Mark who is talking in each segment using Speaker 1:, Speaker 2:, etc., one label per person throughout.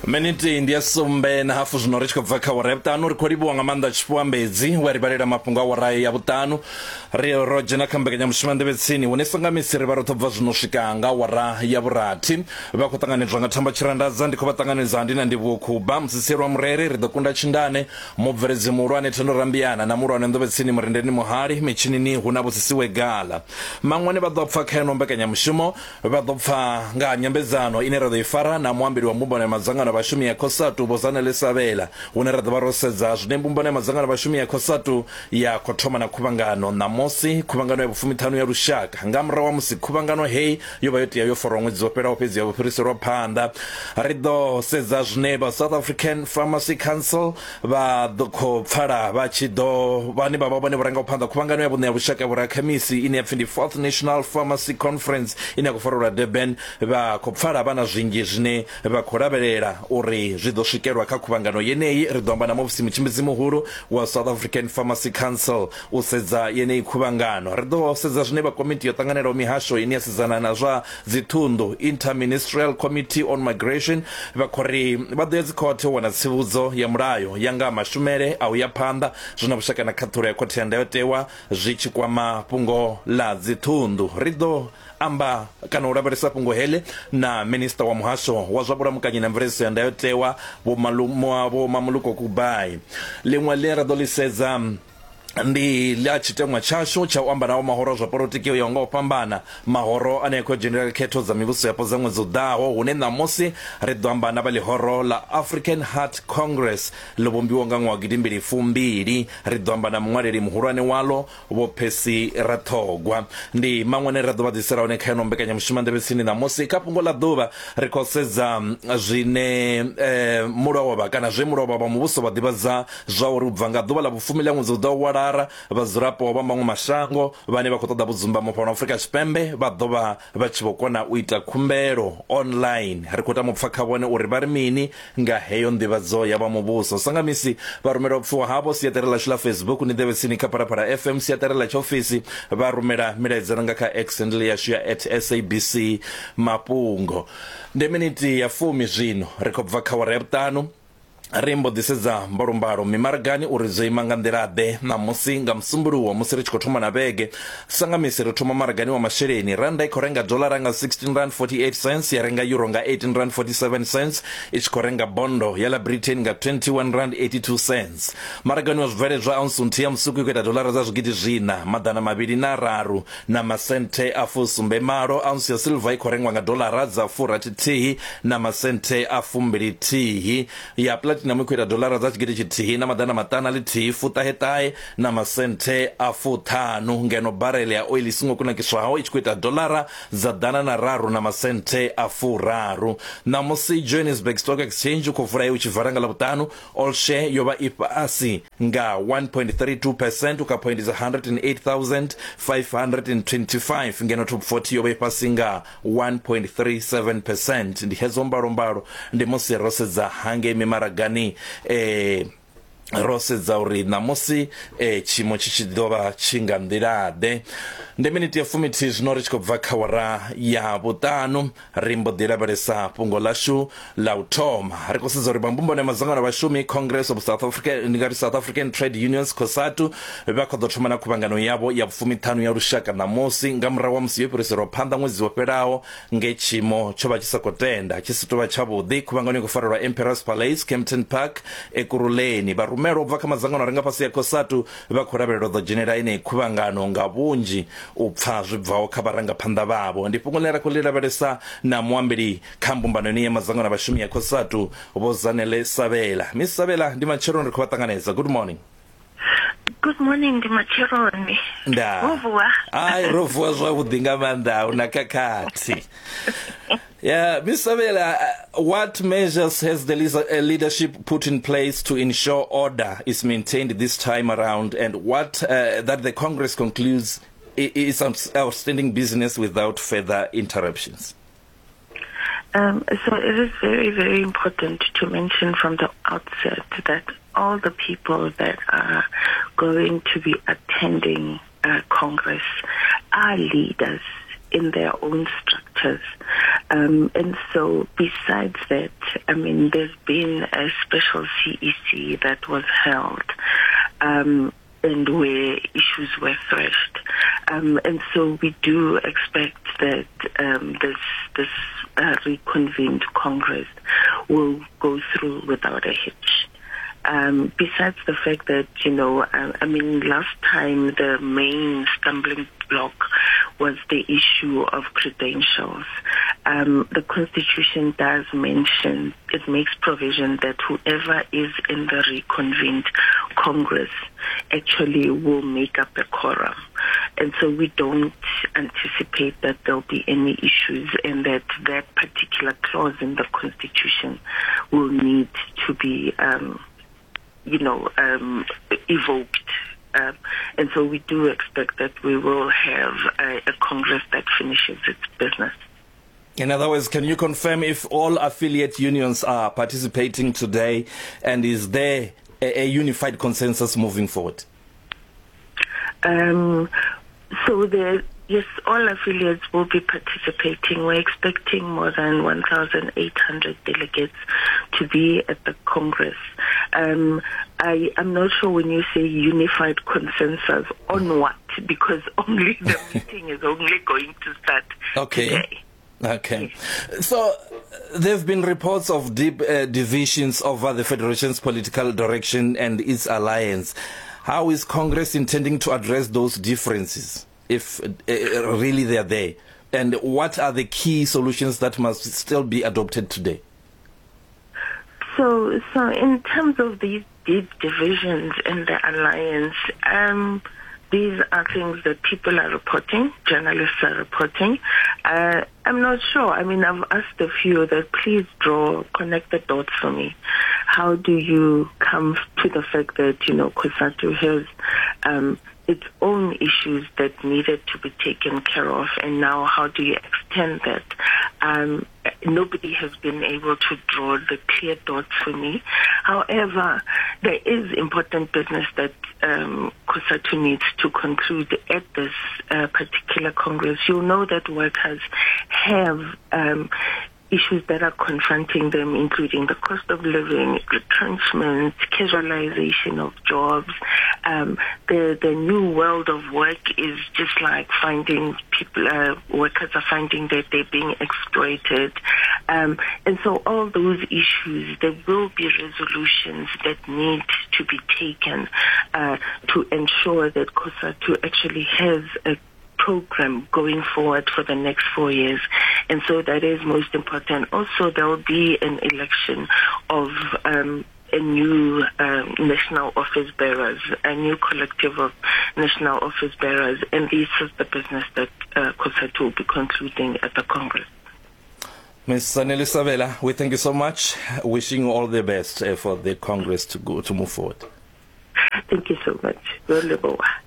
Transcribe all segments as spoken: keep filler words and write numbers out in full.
Speaker 1: Miniti ndi ya sumbe na hafu zwino ri tshi khou bva kha awara ya vhuṱanu. Ri khou livhuwa nga maanḓa Tshifhiwa we ri vhalela mafhungo a awara ya vhuṱanu. Ri ro dzhena kha mbekanyamushumo ya Nḓevhe Tsini, hune songa misi ri vha ro ḓo bva zwino swika nga awara ya vhurathi. Vha khou ṱanganedzwa nga Thamba Tshirandadza, ndi khou vha ṱanganedza ndi na Ndivhuwo Khuba, Musisielwa Mureri, ri ḓo kunda Tshindane, mubveledzi muhulwane Thendo Rambiana na muhulwane Nḓevhe Tsini Murendeni Muhali, mitshinini hu na Vhusisiwe Gala. Maṅwane vha ḓo pfa kha ino mbekanyamushumo, vha ḓo pfa nga nyambedzano ine ra ḓo i fara na muambeli wa mbumbano ya madzangano a vhashumi ya COSATU Vho Zanele Sabela, hune ra ḓo vha ro sedza zwine mbumbano ya madzangano a vhashumi ya COSATU ya khou thoma na khuvhangano ṋamusi, khuvhangano ya vhufumiṱhanu ya lushaka. Nga murahu ha musi khuvhangano hei yo vha yo tea yo farwa ṅwedzi wo fhelaho, fhedzi ya vho fhiriselwa phanḓa. Ri ḓo sedza zwine vha South African Pharmacy Council vha ḓo khou pfala vha tshi ḓo vhane vha vha vhone vho rangaho phanḓa khuvhangano ya vhuṋe ya lushaka vhorakhemisi ine ya pfhi ndi Fourth National Pharmacy Conference ine ya khou farelwa Durban. Vha khou pfala vha na zwinzhi zwine vha khou lavhelela uri zwi ḓo swikelwa kha khuvhangano yeneyi. Ri ḓo amba na muofisi mutshimbidzi muhulu wa South African Pharmacy Council u sedza yeneyi khuvhangano. Ri ḓo sedza zwine vha komiti yo ṱanganelaho mihasho ine ya sedzana na zwa dziṱhunḓu, Interministerial Committee on Migration, vha khou ri vha ḓo ya dzikhothe u wana tsivhudzo ya mulayo ya nga mashumele a u ya phanḓa zwi na vhushaka na khaṱhulo ya khothe ya ndayotewa zwi tshi kwama fhungo ḽa dziṱhunḓu. Ri ḓo amba kana u lavhelesa fhungo heḽi na minista wa muhasho wa zwa vhulamukanyi na mveledziso ya ndayotewa Vho Malu- Vho Mamuluko Kubai. Ḽiṅwe ḽine ra ḓo ḽi sedza ndi ḽa tshiteṅwa tshashu tsha u amba nawo mahoro a zwa polotiki o yaho nga u fhambana, mahoro ane a khou dzhenelela khetho dza mivhuso yapo dza ṅwedzi u ḓaho, hune ṋamusi ri ḓo amba na vha ḽihoro ḽa African Heart Congress ḽo vhumbiwa nga ṅwaha gidimbili fumbili. Ri ḓo amba na muṅwaleli muhulwane waḽo Vho Percy Rathogwa. Ndi maṅwe ane ra ḓo vha ḓisela hone kha ino mbekanyamushumo Nḓevhe Tsini ṋamusi. Kha fhungo ḽa ḓuvha ri khou sedza zwine eh, mulovha kana zwe mulovha vha muvhuso vha ḓivhadza zwa uri u bva nga ḓuvha ḽa vhufumi ḽa ṅwedzi u ḓo wala vhadzulapo vha maṅwe mashango vhane vha khou ṱoḓa vhudzumbamo fhano Afrika Tshipembe vha ḓo vha vha tshi vho kona u ita khumbelo online. Ri khou tama u pfa kha vhone uri vha ri mini nga heyo nḓivhadzo ya vha muvhuso. Sanga misi vha rumela upfiwa havho siaṱari ḽashu ḽa Facebook ni Nḓevhe Tsini kha Phalaphala F M, siaṱari ḽa tshiofisi vha rumela milaedza nga kha X handle yashu ya at S A B C Mafhungo. Ndi miniti ya fumi zwino ri khou bva kha awara ya vhuṱanu. Ri mbo ḓi sedza mbalombalo mimaragani uri dzo ima nga nḓila-ḓe ṋamusi nga Musumbuluwo musi ri tshi khou thoma na vhege. Sanga misi ri thoma maragani wa masheleni, randa i khou renga dolara nga sixteen rand forty-eight cents, ya renga euro nga eighteen rand forty-seven cents, i tshi khou renga bondo ya ḽa Britain nga twenty-one rand eighty-two cents. Maragani wa zwibveledzwa ounce nthihi ya musuku i khou ita dolara dza zwigidi zwiṋa maḓana mavhili na raru na masenthe a fusumbe malo. Ounce ya silver i khou rengwa nga dolara dza furathi thihi na masenthe a fumbili thihi, ya platinum i khou ita dolara dza tshigidi tshithihi na maḓana maṱana ḽithihi fuṱaheṱahe na masenthe a fuṱhanu, ngeno barele ya oil i songo kunakiswaho i tshi khou ita dolara dza ḓana na raru na masenthe a furaru. Ṋamusi Johannesburg Stock Exchange u khou vula u tshi vala nga Ḽavhuṱanu, all share yo vha i fhasi nga one point three two percent u kha point dza hundred and eight thousand five hundred and twenty-five, ngeno top forty yo vha i fhasi nga one point three seven percent. Ndi hedzo mbalombalo ndi musi ro sedza hangei mimaragani eh ro sedza uri ṋamusi eh tshiimo tshi tshi ḓo vha tshi nga nḓila-ḓe. Ndi miniti ya fumithihi zwino ri tshi khou bva kha awara ya vhuṱanu. Ri mbo ḓi lavhelesa fhungo ḽashu ḽa u thoma. Ri khou sedza uri vha mbumbano ya madzangano a vhashumi Congress of South Africa, ndi nga ri South African Trade Unions COSATU, vha khou ḓo thoma na khuvhangano yavho ya vhufumiṱhanu ya lushaka ṋamusi nga murahu ha musi yo fhiriselwa phanḓa ṅwedzi wo fhelaho nge tshiimo tsho vha tshi sa khou tenda tshi si tou vha tshavhuḓi. Khuvhangano i khou farelwa Emperor's Palace, Kempton Park, Ekurhuleni. Vha rumelwa u bva kha madzangano a re nga fhasi ya COSATU vha khou lavhelelwa ḓo dzhenela ineyi khuvhangano nga vhunzhi u pfa zwi bvaho kha vharangaphanḓa vhavho. Ndi fhungo ḽine ra khou ḽi lavhelesa na muambeli kha mbumbano ine ya madzangano a vhashumi ya COSATU Vho Zanele Sabela. Miss Sabela, ndi matsheloni, ri khou vha ṱanganedza. Good morning.
Speaker 2: Good morning, ndi matsheloni.
Speaker 1: Nda.
Speaker 2: Ro vuwa.
Speaker 1: Ai, ro vuwa zwavhuḓi nga maanḓa, hu na khakhathi. Yeah, Miz Sabela, what measures has the leadership put in place to ensure order is maintained this time around, and what uh, that the Congress concludes is outstanding business without further interruptions?
Speaker 2: Um, so it is very, very important to mention from the outset that all the people that are going to be attending uh, Congress are leaders in their own structures. Um, and so besides that, I mean, there's been a special C E C that was held, um, and where issues were threshed. Um, and so we do expect that um, this, this uh, reconvened Congress will go through without a hitch. Um, besides the fact that, you know, I, I mean, last time the main stumbling block was the issue of credentials. Um, the Constitution does mention, it makes provision that whoever is in the reconvened Congress actually will make up a quorum. And so we don't anticipate that there'll be any issues and that that particular clause in the Constitution will need to be, um, you know, um, evoked. Um, and so we do expect that we will have a, a Congress that finishes its business.
Speaker 1: In other words, can you confirm if all affiliate unions are participating today, and is there a, a unified consensus moving forward?
Speaker 2: Um, so there, yes, all affiliates will be participating. We're expecting more than one thousand eight hundred delegates to be at the Congress. Um, I am not sure when you say unified consensus on what, because only the meeting is only going to start
Speaker 1: okay.
Speaker 2: today.
Speaker 1: Okay. So there have been reports of deep uh, divisions over the Federation's political direction and its alliance. How is Congress intending to address those differences, if uh, really they are there? And what are the key solutions that must still be adopted today?
Speaker 2: So, so in terms of these deep divisions in the alliance, um, these are things that people are reporting, journalists are reporting. Uh, I'm not sure. I mean, I've asked a few that please draw, connect the dots for me. How do you come to the fact that, you know, COSATU has um, its own issues that needed to be taken care of, and now how do you extend that? Um, nobody has been able to draw the clear dots for me. However, there is important business that um, COSATU needs to conclude at this uh, particular Congress. You'll know that workers have um, issues that are confronting them, including the cost of living, retrenchment, casualization of jobs. Um, the, the new world of work is just like finding people, uh, workers are finding that they're being exploited. Um, and so all those issues, there will be resolutions that need to be taken uh, to ensure that COSATU actually has a program going forward for the next four years. And so that is most important. Also, there will be an election of um, a new um, national office bearers, a new collective of national office bearers, and this is the business that uh, COSATU will be concluding at the Congress.
Speaker 1: Miz Zanele Sabela, we thank you so much. Wishing you all the best uh, for the Congress to go to move forward.
Speaker 2: Thank you so much.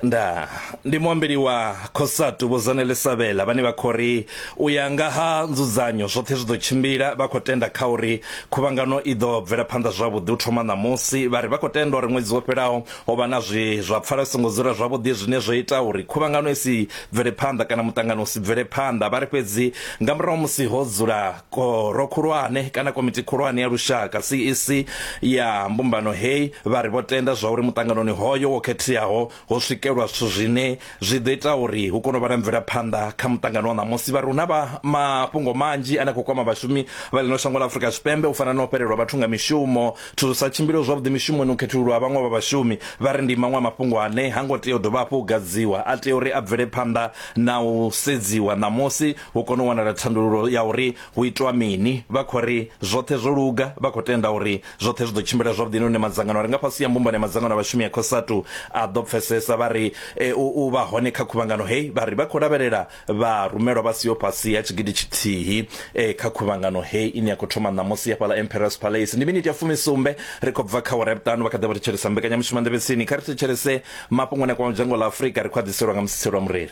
Speaker 1: Nda ndi muambeli wa COSATU Vho Zanele Sabela vhane vha khou ri u ya nga ha nzudzanyo zwoṱhe zwi ḓo tshimbila, vha khou tenda kha uri khuvhangano i ḓo bvela phanḓa zwavhuḓi u thoma ṋamusi. Vha ri vha khou tenda uri ṅwedzi wo fhelaho ho vha na zwi zwa pfala songo dzula zwavhuḓi zwine zwo ita uri khuvhangano i si bvele phanḓa kana muṱangano u si bvele phanḓa. Vha ri fhedzi nga murahu musi ho dzula khoro khulwane kana komiti khulwane ya lushaka C E C ya mbumbano hei, vha ri vho tenda zwa uri muṱanganoni hoyo wo khetheaho ho swikelwa zwithu zwine zwi ḓo ita uri hu kone u vha na mvelaphanḓa kha muṱangano wa ṋamusi. Vha ri hu na vha mafhungo manzhi ane a khou kwama vhashumi vha ḽino shango ḽa Afrika Tshipembe, u fana na u fhelelwa vhathu nga mishumo, zwithu zwi sa tshimbile zwavhuḓi mishumoni, u khethululwa vhaṅwe vha vhashumi. Vha ri ndi maṅwe a mafhungo ane ha ngo tea u dovha hafhu u gadziwa, a tea uri a bvele phanḓa na u sedziwa ṋamusi hu kone u wanala thandululo ya uri hu itwa mini. Vha khou ri zwoṱhe zwo luga, vha khou tenda uri zwoṱhe zwi ḓo tshimbila zwavhuḓi, nahone madzangano a re nga fhasi ya mbumbano ya madzangano a vhashumi ya COSATU a ḓo pfesesa. Vha ri e, u vha hone kha khuvhangano hei, vha ri vha khou lavhelela vha rumelwa vha siho fhasi ya tshigidi tshithihi e, kha khuvhangano hei ine ya khou thoma ṋamusi ya fhaḽa Emperor's Palace. Ndi miniti ya fumisumbe ri khou bva kha awara ya vhuṱanu. Vha kha ḓi vha thetshelesa mbekanyamushumo Nḓevhetsini. Kha ri thetshelese mafhungo ane a kwama dzhango ḽa Afrika, ri khou a ḓiselwa nga Musitselo wa Mureli.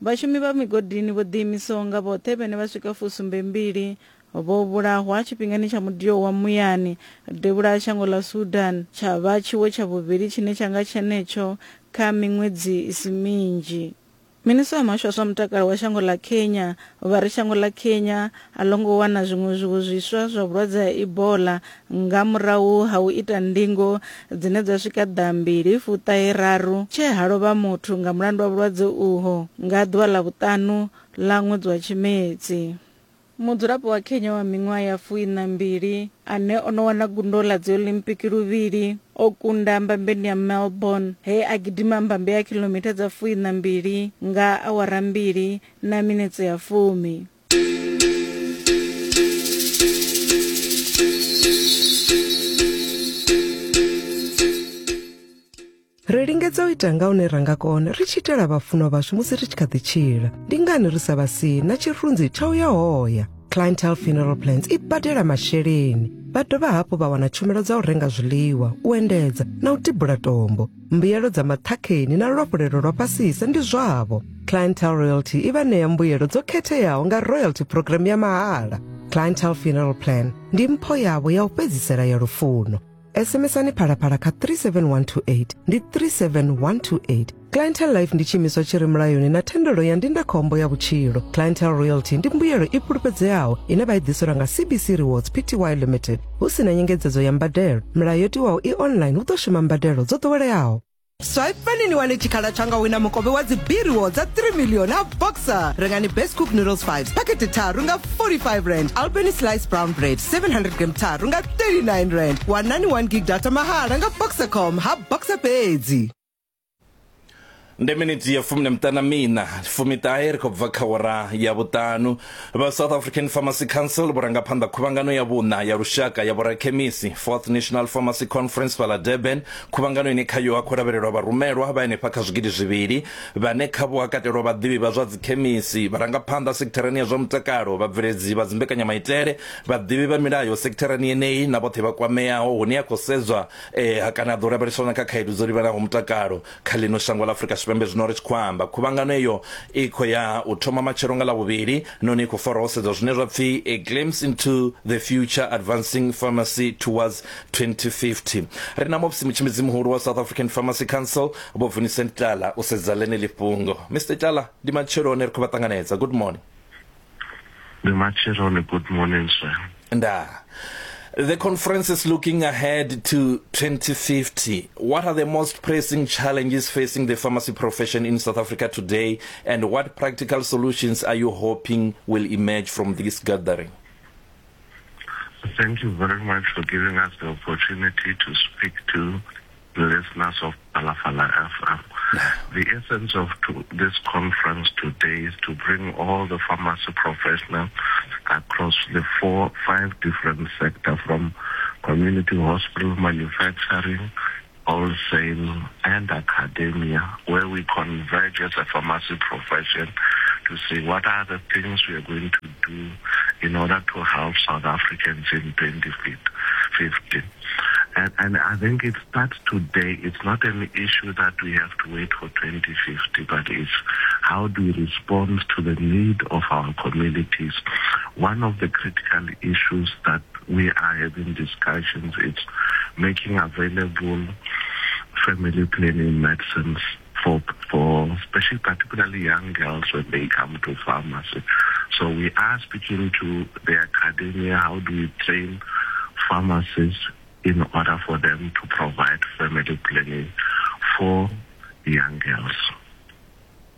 Speaker 3: Vhashumi vha migodini vho ḓiimisaho nga vhoṱhe vhane vha swika fusumbembili vho vhulahwa tshifhingani tsha mudio wa muyani devhula ha shango ḽa Sudan, tsha vha tshiwo tsha vhuvhili tshine tsha nga tshenetsho kha miṅwedzi i si minzhi. Minisiṱa wa muhasho wa zwa mutakalo wa shango ḽa Kenya vha ri shango ḽa Kenya a ḽo ngo wana zwiṅwe zwiwo zwiswa zwa vhulwadze ha Ebola nga murahu ha u ita ndingo dzine dza swika ḓambili fuṱahe raru tshe ha lovha muthu nga mulandu wa vhulwadze uho nga ḓuvha ḽa vhuṱanu ḽa ṅwedzi wa Tshimedzi. Mudzulapo wa Kenya wa miṅwaha ya fuiṋa mbili ane o no wana gundo ḽa dzi Olimpiki luvhili o kunda mbambeni ya Melbourne he a gidima mbambe ya khilomitha dza fuiṋa mbili nga awara mbili na minetse ya fumi.
Speaker 4: Ri lingedza u ita nga hune ra nga kona ri tshi itela vhafunwa vhashu musi ri tshi kha ḓi tshila. Ndi ngani ri sa vha sii na tshirunzi tsha u ya hoya? Clientele Funeral Plans i badela masheleni. Vha dovha hafhu vha wana tshumelo dza u renga zwiḽiwa, u endedza na u tibula tombo. Mbuyelo dza maṱhakheni na luafhulelo lwa fhasisa ndi zwavho. Clientele Royalty i vha ṋea mbuyelo dzo khetheaho nga royalty program ya mahala. Clientele Funeral Plan ndi mpho yavho ya u fhedzisela ya lufuno. S M S-ani Phalaphala kha three seven one two eight ndi three seven one two eight. Clientele Life ndi tshiimiswa tshi re mulayoni na thendelo ya ndindakhombo ya vhutshilo. Clientele Royalty ndi mbuyelo i fhulufhedzeaho ine vha i ḓiselwa nga C B C Rewards P T Y Limited hu si na nyengedzedzo ya mbadelo. Milayo yo tiwaho i online hu ḓo shuma mbadelo dzo ḓoweleaho. Swipe ni wane tshikhala tshanga wina mukovhe wa dzi B rewards dza three million ha Boxer. Rengani Best Cook Noodles five packet tharu nga forty-five rand. Albany Slice Brown Bread seven hundred gram tharu nga thirty-nine rand. Wanani one gig data mahala nga Boxercom ha Boxer fhedzi.
Speaker 1: Ndi miniti ya fumi na miṱanu na miṋa fumiṱahe ri khou bva kha wara ya vhuṱanu. Vha South African Pharmacy Council vho ranga phanḓa khuvhangano ya vhuṋa ya lushaka ya vhorakhemisi Fourth National Pharmacy Conference fhaḽa Durban. Khuvhangano ine khayo ha khou lavhelelwa vharumelwa vha henefha kha zwigidi zwivhili vhane khavho ha katelwa vhaḓivhi vha zwa dzikhemisi, vharangaphanḓa sekitharani ya zwa mutakalo, vhabveledzi vha dzimbekanyamaitele, vhaḓivhi vha milayo sekitharani yeneyi na vhoṱhe vha kwameaho, hune ya khou sedzwa eh, kana ḓo lavheleswa na kha khaedu dzo livhanaho mutakalo kha ḽino shango ḽa Afrika Tshipembe. Zwino ri tshi khou amba khuvhangano iyo i khou ya u thoma matshelo nga ḽavhuvhili nahone i khou farwa ho sedzwa zwine zwa pfi a glimpse into the future, advancing pharmacy towards twenty fifty. Ri na muofisi mutshimbidzi muhulu wa South African Pharmacy Council Vho Vincent Tlala u sedza ḽeneḽi fhungo. Mister Tlala, ndi matsheloni ri khou vha ṱanganedza. Good morning.
Speaker 5: Ndi matsheloni. Good morning, sir.
Speaker 1: Nda. The conference is looking ahead to twenty fifty. What are the most pressing challenges facing the pharmacy profession in South Africa today, and what practical solutions are you hoping will emerge from this gathering?
Speaker 5: Thank you very much for giving us the opportunity to speak to the listeners of Phalaphala F M. The essence of to this conference today is to bring all the pharmacy professionals across the four, five different sectors, from community hospital, manufacturing, wholesale, and academia, where we converge as a pharmacy profession to see what are the things we are going to do in order to help South Africans in twenty fifty. And, and I think it starts today. It's not an issue that we have to wait for twenty fifty, but it's how do we respond to the need of our communities. One of the critical issues that we are having discussions is making available family planning medicines for, for especially particularly young girls when they come to pharmacy. So we are speaking to the academia, how do we train pharmacists in order for them to provide family planning for young girls.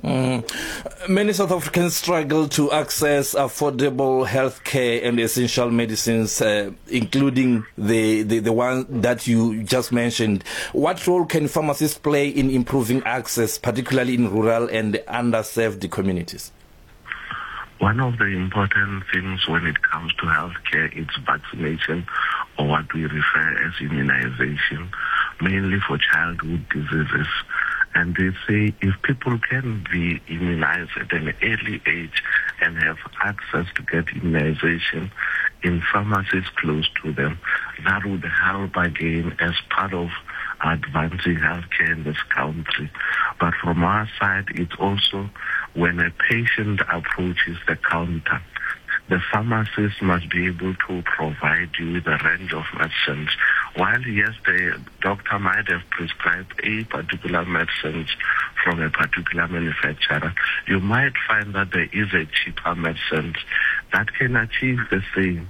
Speaker 1: Mm. Many South Africans struggle to access affordable health care and essential medicines, uh, including the, the, the one that you just mentioned. What role can pharmacists play in improving access, particularly in rural and underserved communities?
Speaker 5: One of the important things when it comes to healthcare is vaccination, or what we refer as immunization, mainly for childhood diseases. And they say if people can be immunized at an early age and have access to get immunization in pharmacies close to them, that would help again as part of advancing healthcare in this country. But from our side, it's also when a patient approaches the counter, The pharmacist must be able to provide you with a range of medicines. While, yes, the doctor might have prescribed a particular medicine from a particular manufacturer, you might find that there is a cheaper medicine that can achieve the same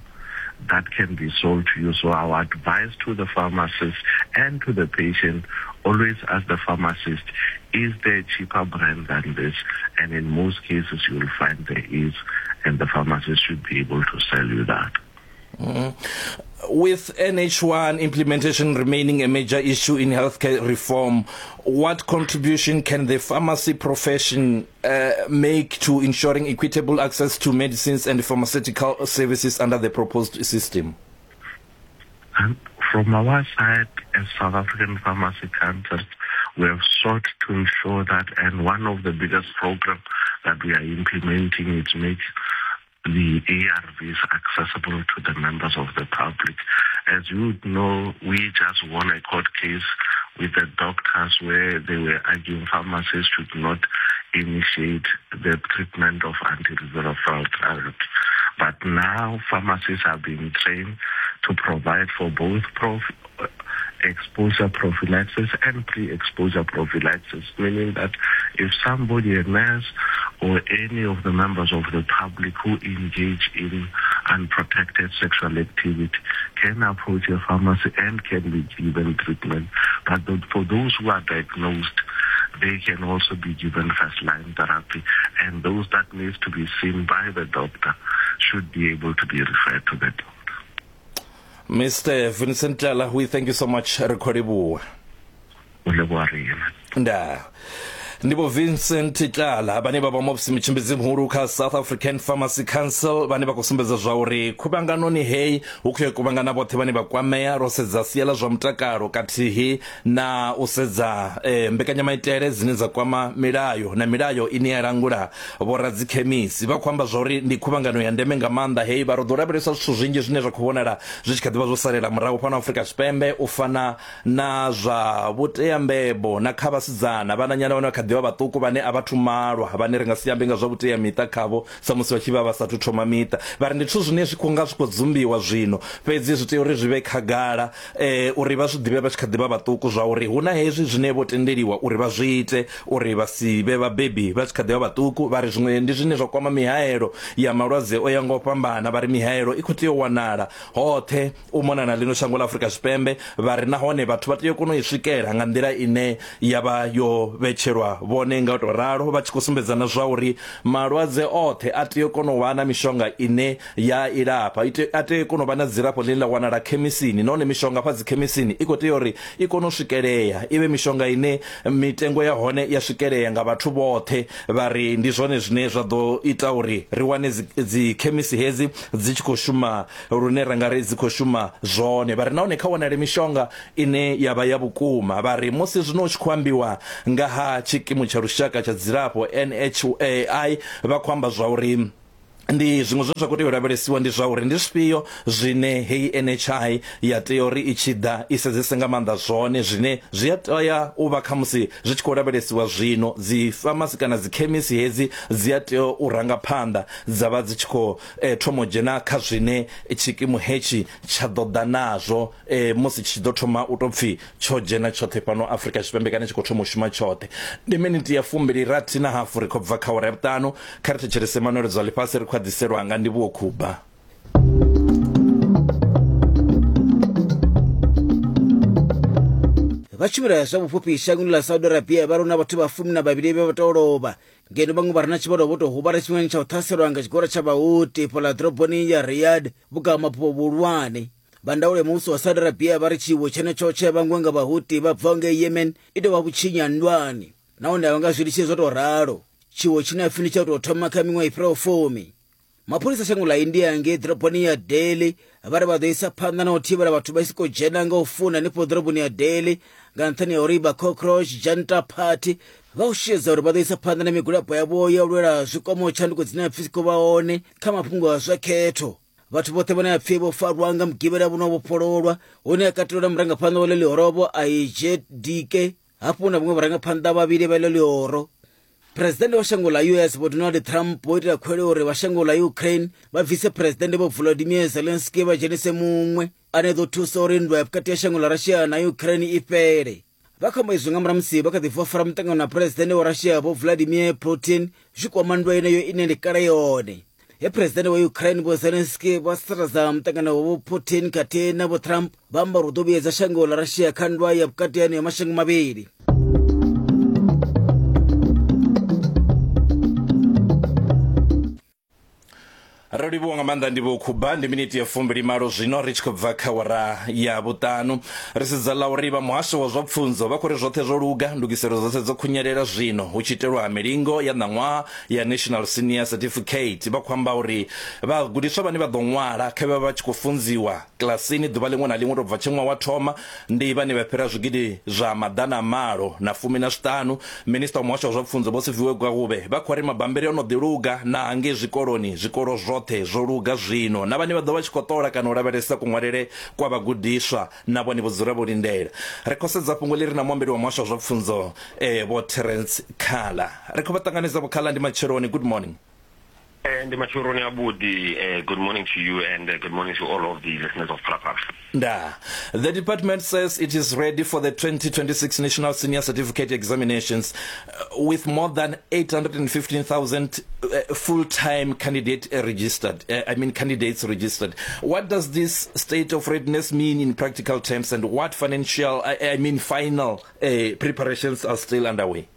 Speaker 5: that can be sold to you. So our advice to the pharmacist and to the patient, always ask the pharmacist, is there a cheaper brand than this? And in most cases, you will find there is, and the pharmacist should be able to sell you that.
Speaker 1: Mm-hmm. With N H one implementation remaining a major issue in healthcare reform, what contribution can the pharmacy profession uh, make to ensuring equitable access to medicines and pharmaceutical services under the proposed system?
Speaker 5: And from our side, as South African Pharmacy Council, we have sought to ensure that, and one of the biggest programs that we are implementing is make the A R Vs accessible to the members of the public. As you know, we just won a court case with the doctors where they were arguing pharmacists should not initiate the treatment of antiretroviral therapy. But now pharmacists are being trained to provide for both prof- exposure prophylaxis and pre-exposure prophylaxis, meaning that if somebody, a nurse or any of the members of the public who engage in unprotected sexual activity, can approach a pharmacy and can be given treatment. But for those who are diagnosed, they can also be given first-line therapy, and those that need to be seen by the doctor should be able to be referred to the doctor.
Speaker 1: Mister Vincent Tlala, we thank you so much. Re Nda. Ndibo Vincent Tlala bane ba ba mofisi mutshimbidzi muhulu kha South African Pharmacy Council bane vha khou sumbedza zwa uri khuvhanganoni hei hu khou kuvhangana vhoṱhe vhane vha kwamea ro sedza sia ḽa zwa mutakalo kathihi na u sedza eh, mbekanyamaitele dzine dza kwama milayo na milayo ine ya langula vhoradzikhemisi. Vha khou amba zwa uri ndi khuvhangano ya ndeme nga maanḓa hei, vha ro ḓo lavhelesa zwithu zwinzhi zwine zwa khou vhonala zwi tshi kha ḓivha zwo salela murahu fhano Afrika Tshipembe, u fana na zwa vhuteambebo na kha vhasidzana vhananyana vhane vha kha ḓivha vhaṱuku vhane a vhathu malwa vhane ri nga si ambe nga zwa vhutea miṱa khavho sa musi vha tshi vha vha sathu thoma miṱa. Vha ri ndi zwithu zwine zwi khou nga zwi khou dzumbiwa zwino, fhedzi zwi tea uri zwi vhe khagala eh, uri vha zwi ḓivhe vha tshi kha ḓivha vhaṱuku zwa uri hu na hezwi zwine vho tendeliwa uri vha zwi ite uri vha si vhe vhabebi vha tshi kha ḓivha vhaṱuku. Vha ri zwiṅwe ndi zwine zwa kwama mihaelo ya malwadze o ya nga u fhambana, vha ri mihaelo i khou tea u wanala hoṱhe u mona na ḽino shango ḽa Afrika Tshipembe. Vha ri nahone vhathu vha tea u kona u i swikela nga nḓila ine ya vha yo vhetshelwa vhone nga u to ralo, vha tshi khou sumbedza na zwa uri malwadze oṱhe a tea u kona u vha na mishonga ine ya ilafha, a tea u kona u vha na dzilafho ḽine ḽa wanala khemisini, nahone mishonga fha dzikhemisini i khou tea uri i kone u swikelea, i vhe mishonga ine mitengo ya hone ya swikelea nga vhathu vhoṱhe. Vha ri ndi zwone zwine zwa ḓo ita uri ri wane dzikhemisi hedzi dzi tshi khou shuma lune ra nga ri dzi khou shuma zwone. Vha ri nahone kha wanale mishonga ine ya vha ya vhukuma. Vha ri musi zwino hu tshi khou ambiwa nga ha tshikimu tsha lushaka tsha dzilafho N H I, vha khou amba zwa uri ndi zwiṅwe zwine zwa khou tea u lavhelesiwa ndi zwa uri ndi zwifhio zwine heyi N H I ya tea uri i tshi ḓa i sedzese nga maanḓa zwone zwine zwi a tea u vha khamusi zwi tshi khou lavhelesiwa zwino. Dzi pharmacy kana dzi khemisi hedzi dzi a tea u ranga phanḓa dza vha dzi tshi khou eh, thoma u dzhena kha zwine tshikimu hetshi tsha ḓo ḓa nazwo eh, musi tshi ḓo thoma u tou pfhi tsho dzhena tshoṱhe fhano Afrika Tshipembe kana tshi khou thoma u shuma tshoṱhe. Ndi miniti ya fumbili rathi na hafu ri khou bva kha awara ya vhuṱanu. Kha ri thetshelese manweledzo a ḽifhasi ri khou ḓiselwa nga Ndivhuwo Khuba.
Speaker 6: Vha tshumelo zwa vhufhufhi shangoni ḽa Saudi Arabia vha rona vhathu vha fumi na vhavhili vhe vha tou lovha ngeno vhaṅwe vha re na tshivhalo vho tou huvhala tshifhingani tsha u ṱhaselwa nga tshigwada tsha vhahuti fhaḽa ḓoroboni ya Riyadh vhukati ha mafhungo vhuhulwane. Vha ndaulo ya muvhuso wa Saudi Arabia vha ri tshiwo tshenetsho tshe vhangwe nga vhahuti vha bvaho ngei Yemen i tou vha vhutshinyi ha nndwani nahone a vha nga zwi litshi zwo tou ralo. Tshiwo tshine ha pfi ndi tsha u tou thoma kha miṅwaha i fhiraho fumi. Mapholisa shango ḽa India ngei ḓoroboni ya Delhi vha ri vha ḓo isa phanḓa na u thivhela vhathu vha si khou dzhena nga u funa hanefho ḓoroboni ya Delhi nga nṱhani ha uri vha Cockroach Janta Party vha u xedza uri vha ḓo isa phanḓa na migwalabo yavho ya u lwela zwikwamaho tshanduko dzine ha pfi dzi khou vha hone kha mafhungo a zwa khetho. Vhathu vhoṱhe vhane ha pfi vho farwa nga mugivhela vho no vhofhololwa, hune ha katelwa na murangaphanḓa wa ḽo ḽihoro vho I J D K hafhu na vhaṅwe vharangaphanḓa vhavhili vha ḽo ḽihoro. Presidennde wa shango ḽa U S Vho Donald Trump vho itela khuwelelo uri vha shango ḽa Ukraine vha bvise Presidennde Vho Volodymyr Zelensky vha dzhenise muṅwe ane ḓo thusa uri nndwa ya vhukati ha shango ḽa Russia na Ukraine i fhele. Vha khou amba izwi nga murahu musi vha kha ḓi bva fara muṱangano na Presidennde wa Russia Vho Vladimir Putin zwi kwama nndwa yeneyo ine ndi kale yone. He Presidennde wa Ukraine Vho Zelensky vha sasaladza muṱangano wa Vho Putin khathihi na Vho Trump vha amba uri u ḓo vhuyedza shango ḽa Russia kha nndwa ya vhukati ha haneyo mashango mavhili.
Speaker 1: Ro livhuwa nga maanḓa ndi Vho Khuba. Ndi miniti ya fumbili malo zwino ri tshi khou bva kha wara ya vhuṱanu. Ri sedza ḽa uri vha muhasho wa zwa pfunzo vha khou ri zwoṱhe zwo luga, ndugiselo dzoṱhe dzo khunyelela zwino hu tshi itelwa milingo ya ṋaṅwaha ya National Senior Certificate. Vha khou amba uri vhagudiswa vhane vha ḓo ṅwala kha vha vha tshi khou funziwa kilasini ḓuvha ḽiṅwe na ḽiṅwe to bva tshe ṅwaha wa thoma ndi vhane vha fhira zwigidi zwa maḓana malo na fumi na zwiṱanu. Minista wa muhasho wa zwa pfunzo Vho Siviwe Gwarube vha khou ri mabambiri o no ḓi luga na hangei zwikoloni, zwikolo zwo zwo luga zwino, na vhane vha ḓo vha tshi khou ṱola kana u lavhelesa kuṅwalele kwa vhagudiswa na vhone vho dzula vho lindela. Ri khou sedza fhungo ḽi re na muambeli wa muhasho wa zwa pfunzo eh, Vho Terence Khala. Ri khou vha ṱanganedza Vho Khala, ndi matsheloni. Good morning.
Speaker 7: And matsheloni avhuḓi. Good morning to you and good morning to all of the listeners of Phalaphala.
Speaker 1: Nda. The department says it is ready for the twenty twenty-six National Senior Certificate Examinations uh, with more than eight hundred fifteen thousand uh, full-time candidate registered. Uh, I mean candidates registered. What does this state of readiness mean in practical terms, and what financial, I, I mean final uh, preparations are still underway?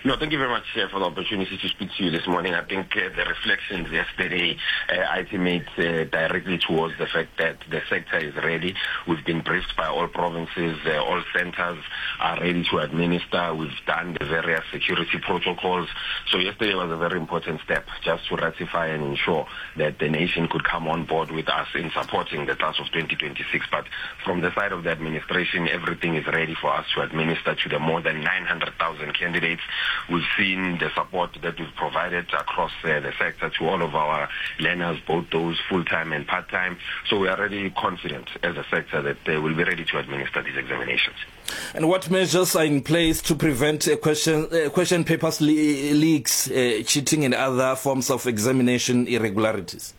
Speaker 7: No, thank you very much uh, for the opportunity to speak to you this morning. I think uh, the reflections yesterday uh, ultimate uh, directly towards the fact that the sector is ready. We've been briefed by all provinces, uh, all centers are ready to administer. We've done the various security protocols. So yesterday was a very important step just to ratify and ensure that the nation could come on board with us in supporting the class of twenty twenty-six. But from the side of the administration, everything is ready for us to administer to the more than nine hundred thousand candidates. We've seen the support that we've provided across uh, the sector to all of our learners, both those full-time and part-time. So we are really confident as a sector that they will be ready to administer these examinations.
Speaker 1: And what measures are in place to prevent uh, question, uh, question papers le- leaks, uh, cheating and other forms of examination irregularities?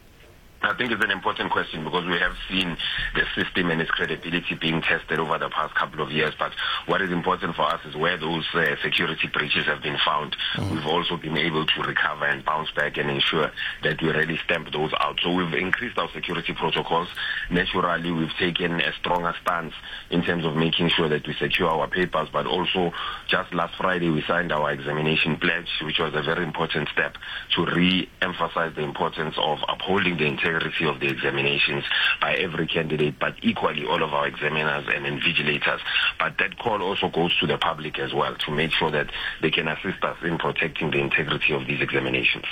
Speaker 7: I think it's an important question because we have seen the system and its credibility being tested over the past couple of years. But what is important for us is where those uh, security breaches have been found. Mm. We've also been able to recover and bounce back and ensure that we really stamp those out. So we've increased our security protocols. Naturally, we've taken a stronger stance in terms of making sure that we secure our papers. But also, just last Friday, we signed our examination pledge, which was a very important step to re-emphasize the importance of upholding the integrity of the examinations by every candidate, but equally all of our examiners and invigilators. But that call also goes to the public as well to make sure that they can assist us in protecting the integrity of these examinations.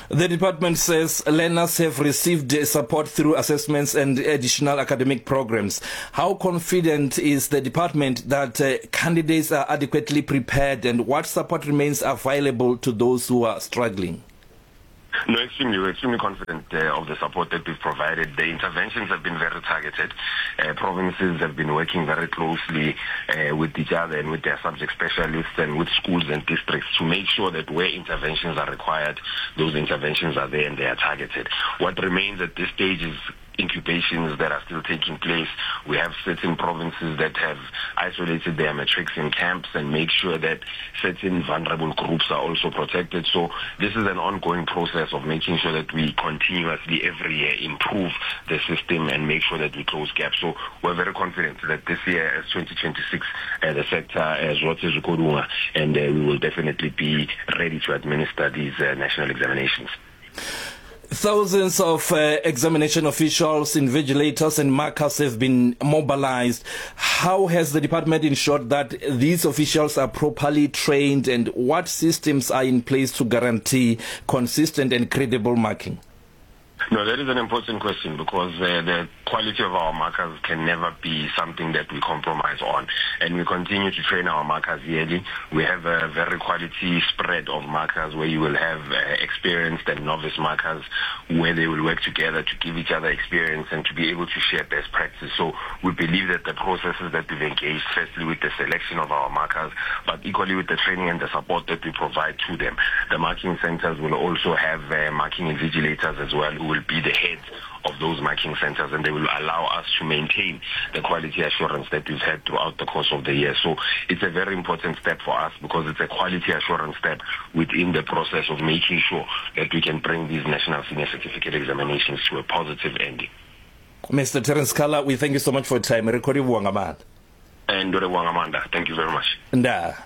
Speaker 1: The department says learners have received support through assessments and additional academic programs. How confident is the department that uh, candidates are adequately prepared, and what support remains available to those who are struggling?
Speaker 7: No, extremely. We're extremely confident uh, of the support that we've provided. The interventions have been very targeted. Uh, provinces have been working very closely uh, with each other and with their subject specialists and with schools and districts to make sure that where interventions are required, those interventions are there and they are targeted. What remains at this stage is incubations that are still taking place. We have certain provinces that have isolated their matrics in camps and make sure that certain vulnerable groups are also protected. So this is an ongoing process of making sure that we continuously every year improve the system and make sure that we close gaps. So we're very confident that this year, as twenty twenty-six, uh, the sector as uh, and uh, we will definitely be ready to administer these uh, national examinations.
Speaker 1: Thousands of uh, examination officials, invigilators and markers have been mobilized. How has the department ensured that these officials are properly trained, and what systems are in place to guarantee consistent and credible marking?
Speaker 7: No, that is an important question, because uh, the quality of our markers can never be something that we compromise on. And we continue to train our markers yearly. We have a very quality spread of markers where you will have uh, experienced and novice markers, where they will work together to give each other experience and to be able to share best practice. So we believe that the processes that we've engaged, firstly with the selection of our markers, but equally with the training and the support that we provide to them. The marking centers will also have uh, marking invigilators as well, who will be the heads of those marking centers, and they will allow us to maintain the quality assurance that we've had throughout the course of the year. So it's a very important step for us, because it's a quality assurance step within the process of making sure that we can bring these National Senior Certificate examinations to a positive ending.
Speaker 1: Mister Terence Kala, we thank you so much for your time.
Speaker 7: And thank you very much.
Speaker 1: Nda.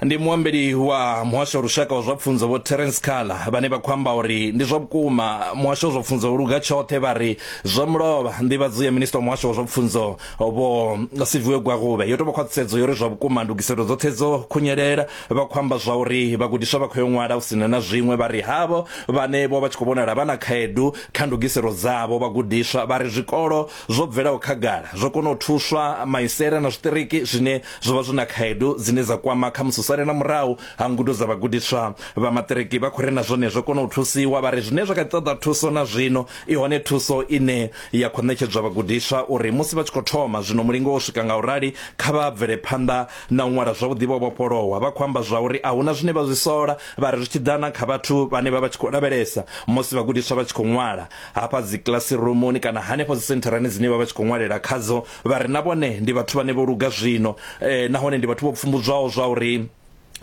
Speaker 1: Ndi muambeli wa muhasho wa lushaka wa zwa pfunzo vho Terence Kala vhane vha khou amba uri ndi zwa vhukuma muhasho wa zwa pfunzo luga tshoṱhe, vha ri zwa mulovha nḓivhadzo ya minista wa muhasho wa zwa pfunzo vho Siviwe Gwarube yo tou vha khwaṱhisedzo yo uri zwa vhukuma ndugiselo dzoṱhe dzo khunyelela. Vha khou amba zwa uri vhagudiswa vha khou yo ṅwala hu sina na zwiṅwe, vha ri havho vhane vho vha tshi khou vhonala vha na khaedu kha ndugiselo dzavho vhagudiswa, vha ri zwikolo zwo bvelaho khagala zwo kona u thuswa maisela na zwiṱiriki zwine zwo vha zwi na khaedu dzine dza kwama kha musi na murahu ha ngudo dza vhagudiswa vha maṱiriki, vha khou ri na zwone zwo kona u thusiwa. Vha ri zwine zwa kha ṱoḓa thuso na zwino i hone thuso ine ya khou ṋetshedzwa vhagudiswa uri musi vha tshi khou thoma zwino mulingo wo swika nga urali kha vha bvele phanḓa na u ṅwala zwavhuḓi vho vhofholowa. Vha khou amba zwa uri a huna zwine vha zwi sola, vha ri zwi tshi ḓana kha vhathu vhane vha vha tshi khou lavhelesa musi vhagudiswa vha tshi khou ṅwala hafha dzi classroomoni kana hanefho dzi sentharani dzine vha vha tshi khou ṅwalela khadzo, vha ri na vhone ndi vhathu vhane vho luga zwino eh, nahone ndi vhathu vho pfumbudzwaho zwa uri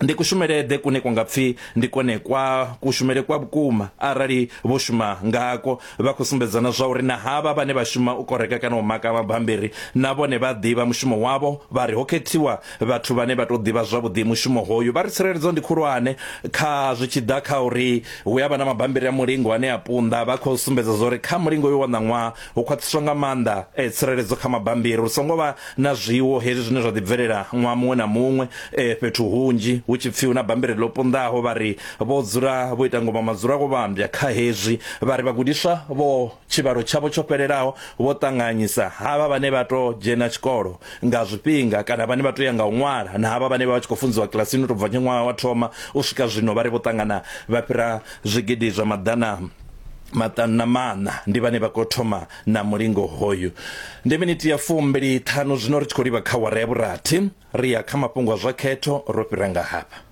Speaker 1: ndi kushumelede kune kwa ngapfi ndi kone kwa kushumele kwa vhukuma arali vho shuma ngako. Vha khou sumbedzana zwa uri na havha vhane vha shuma u koreka kana u maka mabambiri na vhone vha ḓivha mushumo wavho, vha ri ho khethiwa vhathu vhane vha tou ḓivha zwavhuḓi mushumo hoyu. Vha ri tsireledzo ndi khulwane kha zwi tshi ḓa kha uri hu ya vha na mabambiri a mulingo ane a punḓa. Vha khou sumbedza zwa uri kha mulingo yo wa ṋaṅwaha hu khwaṱhiswa nga maanḓa e, tsireledzo kha mabambiri, hu songo vha na zwiwo hezwi zwine zwa ḓi bvelela ṅwaha muṅwe na muṅwe e, fhethu hunzhi hu tshi pfi hu na bambiri ḽo punḓaho. Vha ri vho dzula vho ita ngoma madzula go vhambya kha hezwi, vha ri vhagudiswa vho tshivhalo tshavho tsho fhelelaho vho ṱanganyisa havha vhane vha to dzhena tshikolo nga zwifhinga kana vhane vha to ya nga u ṅwala na havha vhane vha vha tshi khou funziwa kilasini u tou bva ṅwaha wa thoma u swika zwino, vha ri vho ṱangana vha fhira zwigidi zwa maḓana maṱanu na maṋa ndi vhane vha khou thoma na mulingo hoyu. Ndi miniti ya fumbili ṱhanu zwino ri tshi khou livha kha awara ya vhurathi, ri ya kha mafhungo a zwa khetho ro fhira nga hafha.